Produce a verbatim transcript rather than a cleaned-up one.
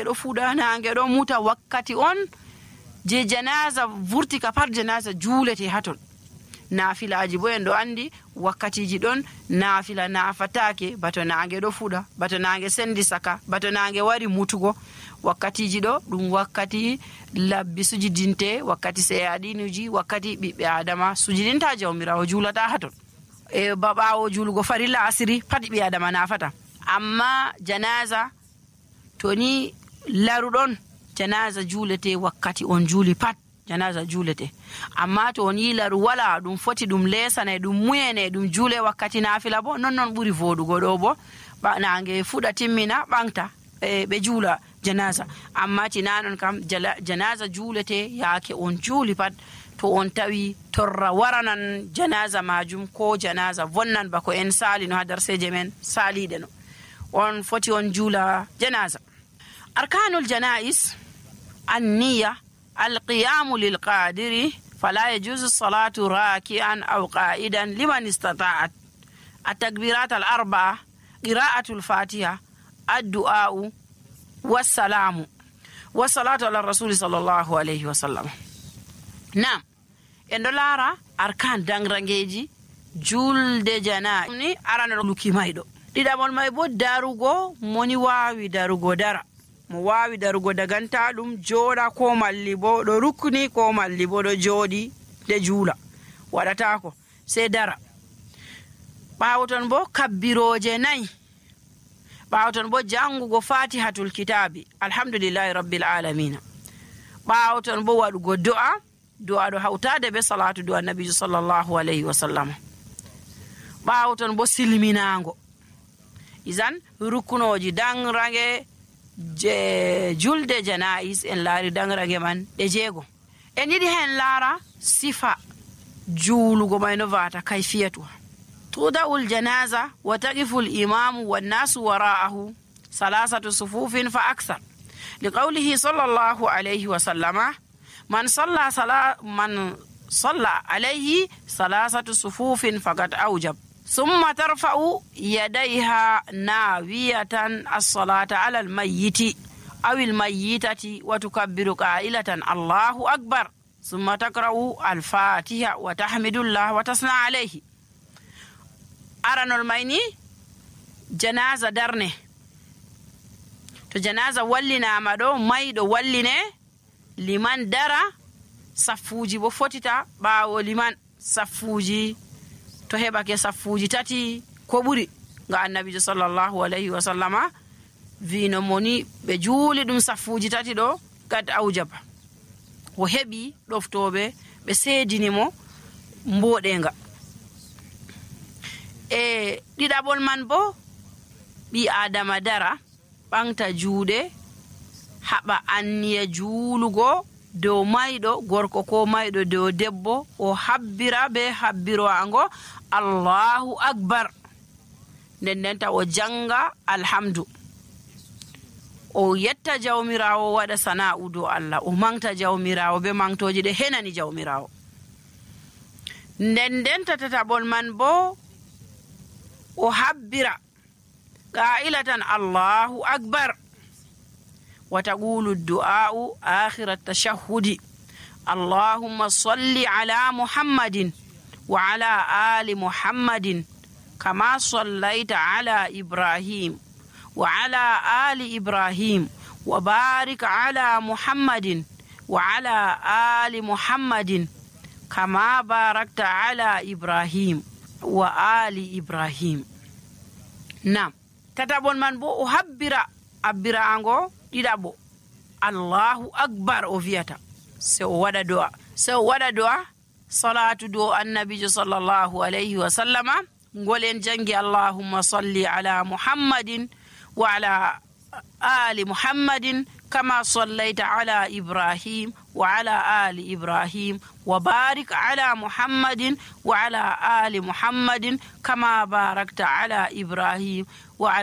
ɗo fuɗa nange ɗo muta wakkati on je janaza vurti ka pat janaza juulete hatton. Nafilaji bo en ɗo andi wakkatiji ɗon nafila nafatake bato nange ɗo fuɗa, bato nange sendi saka, bato nange wari mutugo. Wakkatiji ɗo ɗum wakkati labbi sujidinte, wakkati seyadinuji, wakkati ɓiɓɓe adama sujidinta jawmirawo juulata haton. e babawo julugo farilla asiri pat ɓi adama nafata. Amma janaza to ni laruɗon janaza juulete wakkati on juuli pat janaza juulete. Amma to on yi laru wala ɗum foti ɗum lesane ɗum muyene ɗum juule wakkati nafila bo non non ɓuri vodugo ɗo bo nange fuɗa timmina ɓangta e ɓe juula janaza. Amma tinanon kam janaza juulete yaake on juuli pat to on tawi torra waranan janaza majum ko janaza vonnan bako en sali no ha darseje men saliɗe no on foti on juula janaza. Arkanul janais anniya alqiyamu lilqadiri fala yajuzu salatu raki'an aw qa'idan liman istata'at at-takbirat al-arba'a qira'atul fatiha ad-du'a'u was-salamu was-salatu ala rasul sallallahu alayhi wa sallam. Nam en ɗo laara arkan dangrangeji julde jana ni arana luki mayɗo. Ɗiɗaɓol may bo darugo moni wawi darugo dara, mo wawi darugo daganta ɗum jooɗa ko malli bo ɗo rukni ko malli bo ɗo jooɗi de juula waɗatako sei dara. Ɓawoton bo kabbiroje nayi, ɓawoton bo jangugo fatihatul kitabi alhamdulillahi rabbil alamina, ɓawoton bo waɗugo do'a do'a ɗo hawtade be salatu do annabijo sallallahu alayhi wa sallam. Ɓawoton bo silminago. Izan rukunoji dangrange je julde janais en laari dangrange man ɗe jeego. En yiɗi hen laara sifa juulugo may no vata kayfiyatuha. tuda'ul janaza wa taqifu al-imamu wan-nasu wara'ahu salasatu sufufin fa akthar liqawlihi sallallahu alayhi wa sallama man salla sala man salla alayhi salasatu sufufin faqad awjab thumma tarfa'u yadayha nawiyatan as-salata 'ala al-mayyiti aw al-mayyitati wa tukabbiru qa'ilatan Allahu akbar thumma taqra'u al-fatiha wa tahmidullah wa tasna alayhi. Aranol mayni janaza darne to janaza wallinama ɗo mayɗo walline liman dara saffuji bo fotita ɓawo liman saffuji to heɓake saffuji tati ko ɓuri nga annabijo sallallahu alayhi wa sallama vino moni ɓe juuli ɗum saffuji tati ɗo gad aujaba o heɓi ɗoftoɓe ɓe seedinimo mboɗenga. E ɗiɗaɓol man bo ɓi adama dara ɓangta juuɗe haɓa anniya juulugo dow mayɗo gorko ko mayɗo dow debbo o habbira be habbirowango Allahu akbar nden ndenta o janga alhamdu o yetta jawmirawo waɗa sana'u dow Allah o mangta jawmirawo be mangtoji ɗe henani jawmirawo. nden ndenta tataɓol man bo o habbira qa'ilatan Allahu akbar wa taqulu ad-du'a'u akhir at-tashahhud Allahumma salli ala Muhammadin wa ala ali Muhammadin kama sallaita ala Ibrahim wa ala ali Ibrahim wa barik ala Muhammadin wa ala ali Muhammadin kama barakta ala Ibrahim wa ali Ibrahim. Nam tatabon man bo o habbira abbirango ɗiɗaɓo Allahu akbar o viyata se o waɗa do'a se o waɗa do'a salatu do annabijo sallallahu alayhi wa sallama ngolen jangi Allahumma salli ala Muhammadin wa ala ali Muhammadin kama sallaita ala Ibrahim wa ala ali Ibrahim wa barik ala Muhammadin wa ala ali Muhammadin kama barakta ala Ibrahim wa ala